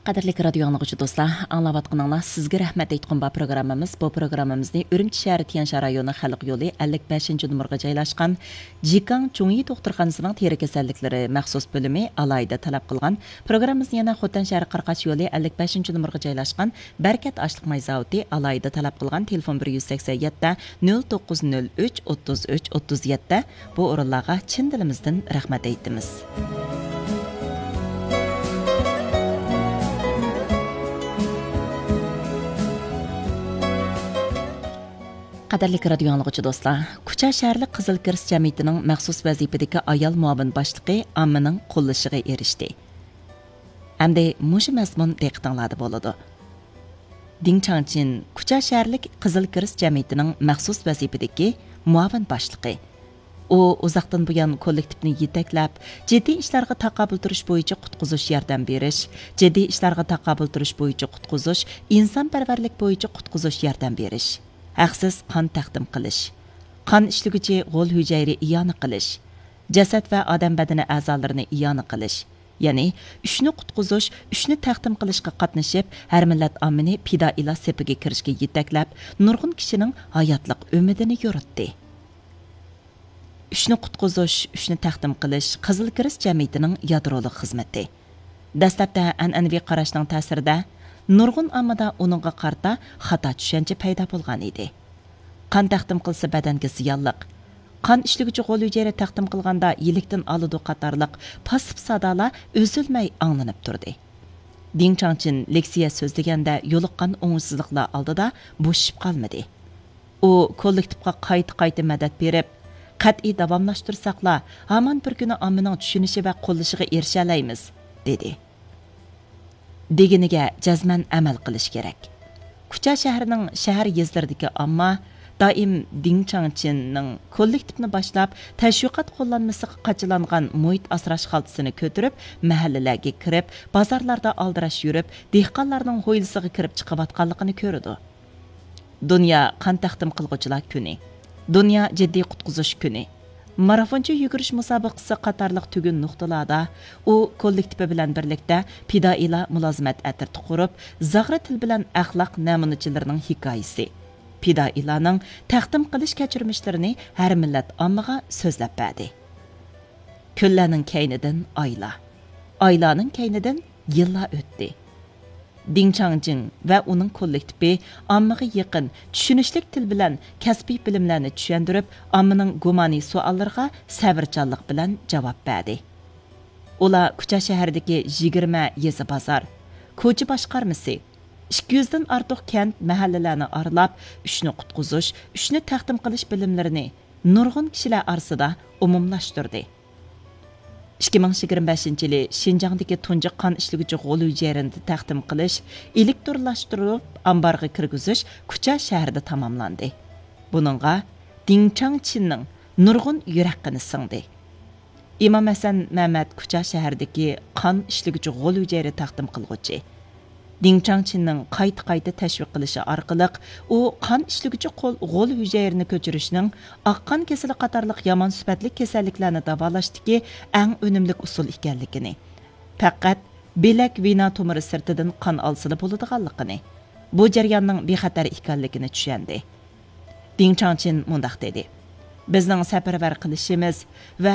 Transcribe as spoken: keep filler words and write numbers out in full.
قەدىرلىك رادىيو ئاڭلىغۇچى دوستلار، ئاڭلاۋاتقىنىڭلار سىزگە رەھمەت ئېيتقۇم بار پروگراممىمىز. بۇ پروگراممىمىزنى ئۈرۈمچى شەھىرى تيەنشان رايونى خەلق يولى ئەللىك بەشىنچى نومۇرغا جايلاشقان جىكاڭ چۇڭيى دوختۇرخانىسىنىڭ تېرە كېسەللىكلىرى مەخسۇس بۆلۈمى ئالاھىدە تەلەپ قىلغان. پروگراممىمىزنى يەنە خوتەن شەھىرى قاراقاش يولى ئەللىك بەشىنچى نومۇرغا جايلاشقان بەرىكەت ئاشلىق ماي زاۋۇتى ئالاھىدە تەلەپ قىلغان. تېلېفون بىر يۈز سەكسەن يەتتە، نۆل توققۇز نۆل ئۈچ، ئوتتۇز ئۈچ، ئوتتۇز يەتتە. بۇ ئورۇنلارغا چىن دىلىمىزدىن رەھمەت ئېيتىمىز. قەدىرلىك رادىيو ئاڭلىغۇچى دوستلار، كۇچا شەھەرلىك قىزىل كىرېست جەمئىيىتىنىڭ مەخسۇس ۋەزىپىدىكى ئايال مۇئاۋىن باشلىقى ئاممىنىڭ قوللىشىغا ئېرىشتى. ئەمدى مۇشۇ مەزمۇن دىققىتىڭلاردا بولىدۇ. دىڭ چاڭچىن كۇچا شەھەرلىك قىزىل كىرېست جەمئىيىتىنىڭ مەخسۇس ۋەزىپىدىكى مۇئاۋىن باشلىقى. ئۇ ئۇزاقتىن بۇيان كوللېكتىپنى يېتەكلەپ، جىددىي ئىشلارغا تاقابىل تۇرۇش بويىچە قۇتقۇزۇش ياردەم بېرىش، جىددىي ئىشلارغا تاقابىل تۇرۇش بويىچە قۇتقۇزۇش، ئىنسانپەرۋەرلىك بويىچە قۇتقۇزۇش ياردەم بېرىش، ھەقسىز قان تەقدىم قىلىش، قان ئىشلىگۈچى غول ھۈجەيرە ئىئانە قىلىش، جەسەت ۋە ئادەم بەدىنى ئەزالىرىنى ئىئانە قىلىش، يەنى ئۈچنى قۇتقۇزۇش، ئۈچنى تەقدىم قىلىشقا قاتنىشىپ، ھەر مىللەت ئاممىنى پىدائىيلار سېپىگە كىرىشكە يېتەكلەپ، نۇرغۇن كىشىنىڭ ھاياتلىق ئۈمىدىنى يورۇتتى. ئۈچنى قۇتقۇزۇش، ئۈچنى تەقدىم قىلىش قىزىل كىرېست جەمئىيىتىنىڭ يادرولۇق خىزمىتى. دەسلەپتە ئەنئەنىۋى قاراشنىڭ تەسىرىدە، نۇرغۇن ئاممىدا ئۇنىڭغا قارىتا خاتا چۈشەنچە پەيدا بولغان ئىدى. قان تەقدىم قىلسا بەدەنگە زىيانلىق. قان ئىشلىگۈچى غول ھۈجەيرە تەقدىم قىلغاندا يىلىكتىن ئالىدۇ قاتارلىق پاسسىپ سادالار ئۈزۈلمەي ئاڭلىنىپ تۇردى. دىڭ چاڭچىن لېكسىيە سۆزلىگەندە يولۇققان ئوڭۇشسىزلىقلار ئالدىدا بوشىشىپ قالمىدى. ئۇ كوللېكتىپقا قايتا-قايتا مەدەت بېرىپ، «قەتئىي داۋاملاشتۇرساقلا، ھامان بىر كۈنى ئاممىنىڭ چۈشىنىشى ۋە قوللىشىغا ئېرىشەلەيمىز» دېدى. دېگىنىگە جەزمەن ئەمەل قىلىش كېرەك. كۇچا شەھىرىنىڭ شەھەر يېزىلىرىدىكى ئامما دائىم دىڭ چاڭچىننىڭ كوللېكتىپنى باشلاپ، تەشۋىقات قوللانمىسىغا قاچىلانغان مۇھىت ئاسراش خالتىسىنى كۆتۈرۈپ، مەھەللىلەرگە كىرىپ، بازارلاردا ئالدىراش يۈرۈپ، دېھقانلارنىڭ ھويلىسىغا كىرىپ چىقىۋاتقانلىقىنى كۆرىدۇ. دۇنيا قان تەقدىم قىلغۇچىلار كۈنى، دۇنيا جىددىي قۇتقۇزۇش كۈنى، مارافونچە يۈگۈرۈش مۇسابىقىسى قاتارلىق تۈگۈن نۇقتىلاردا ئۇ كوللېكتىپى بىلەن بىرلىكتە پىدائىيلار مۇلازىمەت ئەترىتى قۇرۇپ، زاغرا تىل بىلەن ئەخلاق نەمۇنىچىلىرىنىڭ ھېكايىسى، پىدائىيلارنىڭ تەقدىم قىلىش كەچۈرمىشلىرىنى ھەر مىللەت ئاممىغا سۆزلەپ بەردى. كۈنلەرنىڭ كەينىدىن ئايلار، ئايلارنىڭ كەينىدىن يىللار ئۆتتى. دىڭ چاڭجىڭ ۋە ئۇنىڭ كوللېكتىپى ئاممىغا يېقىن، چۈشىنىشلىك تىل بىلەن كەسپىي بىلىملەرنى چۈشەندۈرۈپ، ئاممىنىڭ گۇمانىي سوئاللىرىغا سەۋرچانلىق بىلەن جاۋاب بەردى. ئۇلار كۇچا شەھىرىدىكى يىگىرمە يېزا بازار، كوچا باشقارمىسى، ئىككى يۈزدىن ئارتۇق كەنت، مەھەللىلەرنى ئارىلاپ، ئۈچنى قۇتقۇزۇش، ئۈچنى تەقدىم قىلىش بىلىملىرىنى نۇرغۇن كىشىلەر ئارىسىدا ئومۇملاشتۇردى. ئىككى مىڭ يىگىرمە بەشىنچى يىلى شىنجاڭدىكى تۇنجى قان ئىشلىگۈچى غول ھۈجەيرىنى تەقدىم قىلىش، ئېلېكترونلاشتۇرۇپ ئامبارغا كىرگۈزۈش كۇچا شەھىرىدە تاماملاندى. بۇنىڭغا دىڭ چاڭچىننىڭ نۇرغۇن يۈرەك قېنى سىڭدى. ئىمام ھەسەن مەمەت كۇچا شەھىرىدىكى قان ئىشلىگۈچى غول ھۈجەيرە تەقدىم قىلغۇچى. دىڭ چاڭچىننىڭ قايتا-قايتا تەشۋىق قىلىشى ئارقىلىق، ئۇ قان ئىشلىگۈچى قول، غول ھۈجەيرىنى كۆچۈرۈشنىڭ ئاق قان كېسىلى قاتارلىق يامان سۈپەتلىك كېسەللىكلەرنى داۋالاشتىكى ئەڭ ئۈنۈملۈك ئۇسۇل ئىكەنلىكىنى، پەقەت بىلەك ۋېنا تومۇرى سىرتىدىن قان ئالسىلا بولىدىغانلىقىنى، بۇ جەرياننىڭ بىخەتەر ئىكەنلىكىنى چۈشەندى. دىڭ چاڭچىن مۇنداق دېدى: «بىزنىڭ سەپەرۋەر قىلىشىمىز ۋە